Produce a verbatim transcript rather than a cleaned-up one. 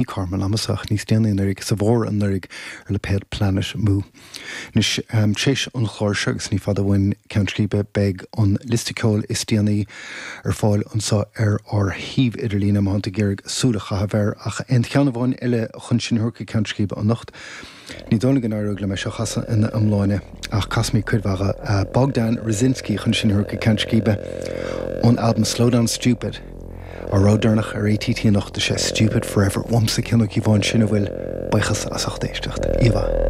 Carmel amasach níos déanaí anuraidh sa bhfómhar anuraidh ar lipéad Planet Mu. Anois um, tar éis an chláir seo agus ní fada uainn Ceann Scríbe beidh an liosta ceoil is déanaí ar fáil anseo ar ár shuíomh idirlín má tá tú ag iarraidh súil a chaitheamh air ach aon cheann amháin eile chun sinn a thabhairt go Ceann Scríbe anocht. Ní dóigh go n-éireoidh liom é seo a chasadh ina iomláine ach casfaidh mé cuid mhaith uh, Bogdan Raczynski chun sinn a thabhairt go Ceann Scríbe ón album Slow Down Stupid. A rud deireanach ar ATT anocht sé Stupid Forever uaimse Cian Ó Cíobháin sin a bhfuil buíochas as ucht éisteacht. Íomh.